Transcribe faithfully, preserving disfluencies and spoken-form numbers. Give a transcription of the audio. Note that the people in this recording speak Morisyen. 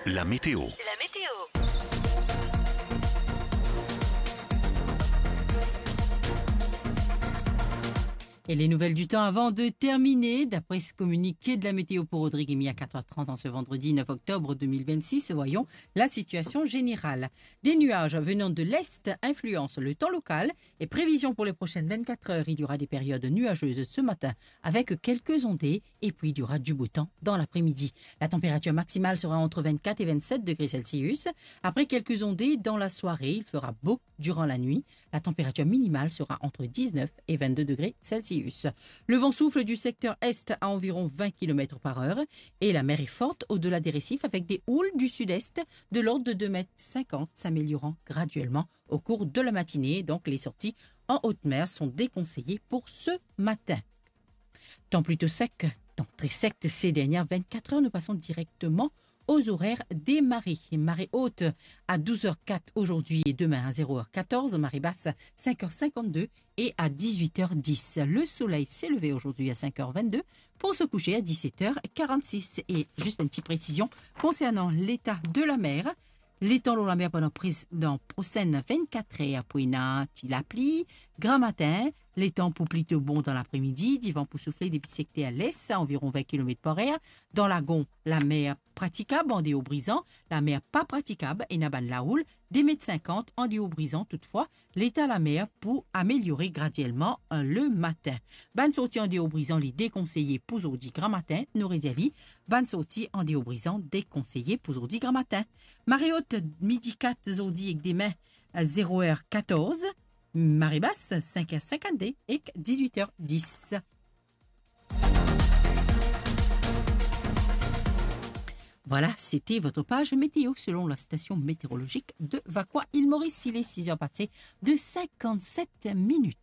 La météo. La météo. Et les nouvelles du temps avant de terminer. D'après ce communiqué de la météo pour Rodrigues Emy à quatre heures trente en ce vendredi neuf octobre deux mille vingt-six, voyons la situation générale. Des nuages venant de l'est influencent le temps local et prévision pour les prochaines vingt-quatre heures, il y aura des périodes nuageuses ce matin avec quelques ondées et puis il y aura du beau temps dans l'après-midi. La température maximale sera entre vingt-quatre et vingt-sept degrés Celsius. Après quelques ondées dans la soirée, il fera beau durant la nuit. La température minimale sera entre dix-neuf et vingt-deux degrés Celsius. Le vent souffle du secteur est à environ vingt kilomètres par heure et la mer est forte au-delà des récifs avec des houles du sud-est de l'ordre de deux mètres cinquante, s'améliorant graduellement au cours de la matinée. Donc, les sorties en haute mer sont déconseillées pour ce matin. Temps plutôt sec, temps très sec ces dernières vingt-quatre heures. Nous passons directement aux horaires des marées. Marée haute à douze heures quatre aujourd'hui et demain à zéro heure quatorze. Marée basse cinq heures cinquante-deux et à dix-huit heures dix. Le soleil s'est levé aujourd'hui à cinq heures vingt-deux pour se coucher à dix-sept heures quarante-six. Et juste une petite précision concernant l'état de la mer. Letan lor lamer pandan prez-, dan prosenn vingt-quatre er pou ena ti lapli. Gramatin, letan pou plito bon dan lapremidi, divan pou soufle depi sekter les, anviron vin kilomet par er. Dan Lagon, lamer pratikab an deor Brizan, lamer pa pratikab, ena bann laoul de met sinkant an deor Brizan. Toutfwa, leta lamer pou ameliore gradielman, eh, lematin. Bann sorti an deor Brizan, li dekonseye pou zordi gramatin, nou redir li, bann sorti an deor Brizan dekonseye pou zordi gramatin. Mare ot, midi kat zordi ek demin, zero er katorz, mare bas, sink er sinkannde ek dizwit er dis. Voilà, c'était votre page météo selon la station météorologique de Vacoas, Île Maurice. Il est six heures passées de cinquante-sept minutes.